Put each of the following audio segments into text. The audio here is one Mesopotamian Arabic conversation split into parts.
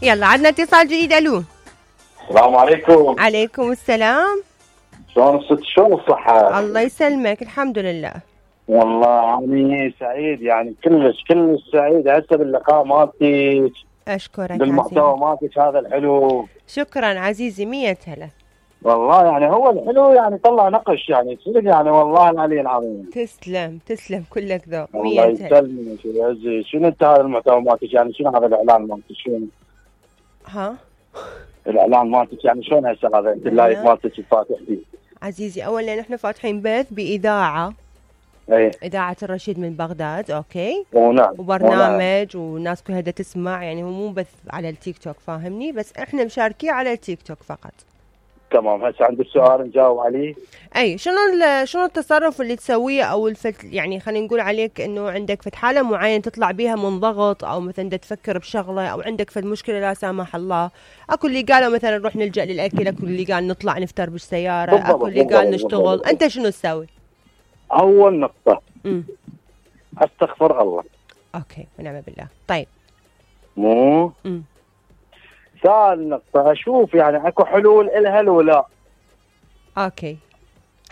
يلا عندنا اتصال جديد. الو السلام عليكم. عليكم السلام. شلون الست؟ شلون الصحة؟ الله يسلمك، الحمد لله. والله يعني سعيد، يعني كلش سعيد هسه باللقاء مالتك. اشكرك بالمحتوى مالتك هذا الحلو. شكرا عزيزي، 100 هلا. والله يعني هو الحلو يعني طلع نقش يعني صدق يعني والله العلي العظيم. تسلم كلك ذوق. الله يسلمك ويعزك. شنو انت هذا المحتوى مالتك؟ يعني شنو هذا الاعلان مالتك؟ شنو؟ ها؟ الاعلان مالتك يعني شلون هسه هذا انت اللايف مالتك الفاتح فيه؟ عزيزي اولا نحن فاتحين بث باذاعه. ايه اذاعه الرشيد من بغداد، اوكي؟ ونعم. وبرنامج والناس كلها بدها تسمع، يعني هو مو بث على التيك توك، فاهمني؟ بس احنا مشاركين على التيك توك فقط. تمام. هسه عندك سؤال نجاوب عليه. اي شنو التصرف اللي تسويه او يعني خلينا نقول عليك انه عندك فد حاله معينه تطلع بيها من ضغط، او مثلا بدك تفكر بشغله، او عندك فد مشكله لا سامح الله. اكو اللي قالوا مثلا نروح نلجا للاكل، اكو اللي قال نطلع نفطر بالسياره، اكو اللي قال نشتغل. انت شنو تسوي؟ اول نقطه استغفر الله. اوكي ونعم بالله. طيب مو ثاني نقطة أشوف يعني أكو حلول إلها لو لا. أوكي.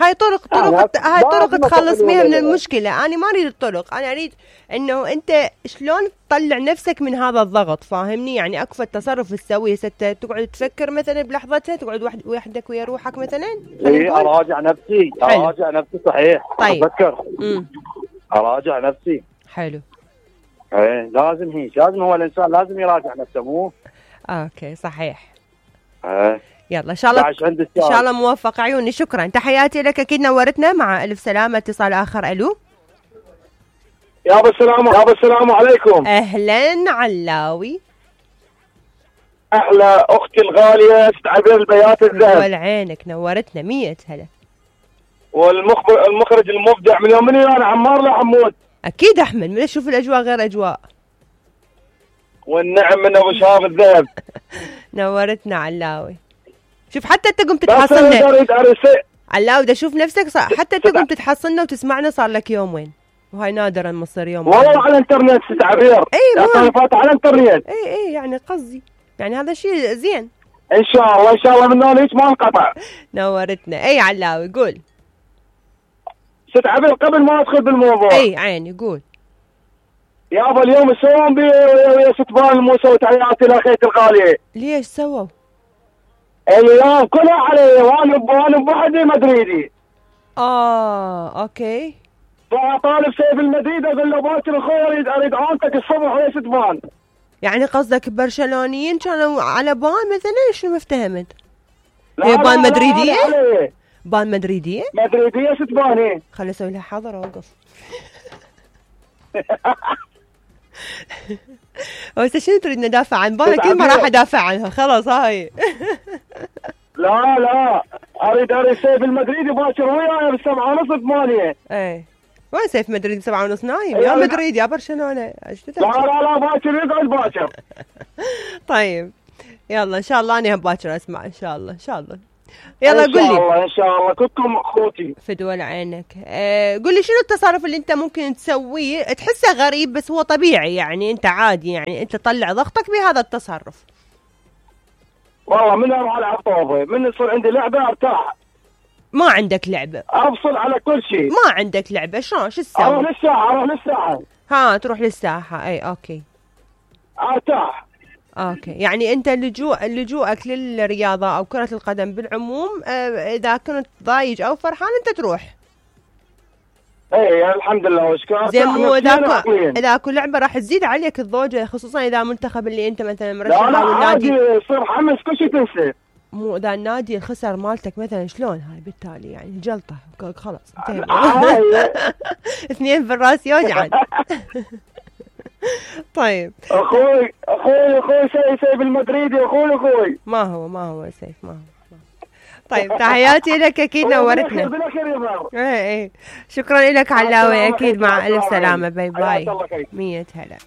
هاي طرق تخلص بيها من المشكلة. أنا ما أريد الطرق، أنا أريد إنه أنت شلون تطلع نفسك من هذا الضغط، فاهمني؟ يعني أكفى التصرف تسويه ستة تقعد تفكر مثلا بلحظتها، تقعد وحدك ويا روحك مثلا. إيه أراجع نفسي. صحيح. طيب. أفكر. أراجع نفسي. حلو. إيه لازم هو الإنسان لازم يراجع نفسه مو. اوكي صحيح. يلا ان شاء الله موفق عيوني. شكرا، تحياتي لك، اكيد نورتنا. مع الف سلامه. اتصال اخر. الو يابا السلام عليكم. اهلا علاوي. احلى اختي الغاليه استعبير البيات الذهب. والعينك، نورتنا. 100 هلا. والمخرج المبدع من يومني انا عمار لا حمود. اكيد احمد، من اشوف الاجواء غير اجواء. والنعم من ابو شهاب الذهب. نورتنا علاوي. شوف حتى انت قمت تحصلنا علاوي، دا شوف نفسك حتى انت قمت تحصلنا وتسمعنا صار لك يومين، وهاي نادرا ما تصير يوم. والله على الانترنت تعبير. اي فات على الانترنت. اي يعني قصدي يعني هذا شيء زين. ان شاء الله من هيك ما انقطع. نورتنا. اي علاوي قول. ست عبير قبل ما ادخل بالموضوع. اي عيني قول. يابا اليوم يسوون ويا ستبان الموسى وتحياتي لاخيتي الغاليه. ليش سووا؟ اليوم كلها علي وانا بوحدي مدريدي. اوكي. فطالب سيف المدريد اقول له باكر اخوي اريد عونتك الصبح ويا ستبان. يعني قصدك برشلونيين كانوا على بان مثلا؟ شنو ما افتهمت؟ هي بان مدريديه؟ بان مدريديه؟ مدريديه ستبان. خلي اسوي لها حاضر اوقف. بس شنو تريد ندافع عن بان؟ اكيد ما راح ادافع عنها، خلاص هاي. لا اريد سيف المدريدي باكر وياي ب7:30 8. ايه وين سيف مدريد 7:30 نايم؟ يا مدريد يا برشلونه. لا باكر يقعد باكر. طيب يلا ان شاء الله انا باكر اسمع ان شاء الله. يلا قل لي. ان شاء الله كلكم اخوتي. فدول عينك. قل لي شنو التصرف اللي انت ممكن تسويه تحسه غريب بس هو طبيعي، يعني انت عادي يعني انت تطلع ضغطك بهذا التصرف. والله من اروح العب طوبه، من يصير عندي لعبه ارتاح. ما عندك لعبه؟ افصل على كل شيء. ما عندك لعبه شلون؟ شو تسوي؟ اروح للساحه. تروح للساحه. اي اوكي. ارتاح. اوكي يعني انت لجوءك للرياضه او كره القدم بالعموم، اذا كنت ضايج او فرحان انت تروح. اي الحمد لله واشكرك. زين مو اذا اكو لعبه راح تزيد عليك الضوجه، خصوصا اذا منتخب اللي انت مثلا مرشح او النادي. لا يصير حمس كل شيء تنسى. مو اذا النادي الخسر مالتك مثلا شلون هاي؟ بالتالي يعني جلطه خلاص انتهى. 2 بالراس يوجعن. طيب اخوي سيف المدريدي اخوي. ما هو سيف ما هو. طيب تحياتي لك، اكيد نورتنا. ايه شكرا لك علاوي، اكيد مع الف سلامه. باي 100 هلا.